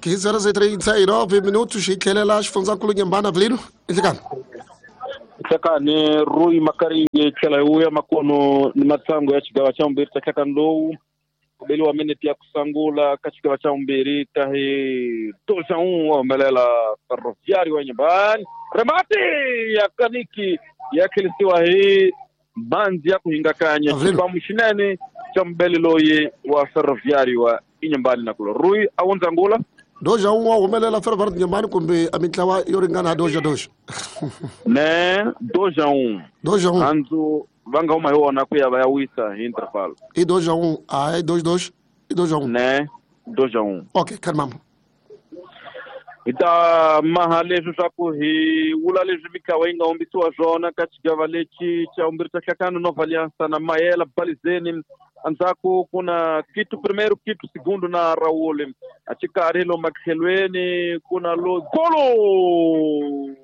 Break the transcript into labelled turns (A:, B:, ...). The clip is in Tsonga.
A: 15 horas e 39 minutos hi tlhelela xifundzankulu Nyembana Vilino inhlekani.
B: Hlekani Rui Makaringe tlhela hi vuya makono ni matsango ya xigava xa vumbirhi xa hlekani lowu ku beliwa minete ya ku sungula ka xigava xa vumbirhi ta hi 2-1 wa humelela Ferroviário wa Nyembani remati ya kaniki ya tlhelisiwa hi mhandzi ya ku hingakanya
A: Avril.
B: xibamu xinene xa mubeli loyi wa Ferroviário wa Inhambane na kulo Rui a wundza ngula
A: Doja un wa humelela Ferroviário Nyembani kumbe a mintlawa yo ringana doja doja.
B: Ne 2-1
A: Doja un.
B: handzu va nga huma hi wona ku ya va ya wisa hi interval.
A: I 2-1, a i 2-2, i 2-1.
B: Ne 2-1.
A: Okay, kalmamo.
B: Hi ta maha leswi swa ku hi vula leswi mitlawa yi nga humbisiwa swona ka xigava lexi xa vumbirhi xa hlakano Nova Aliança na Mayela Balizeni endzhaku ku na Quito primeiro Quito segundo na Raul a xikarhi lomu matlhelweni ku na lo golo.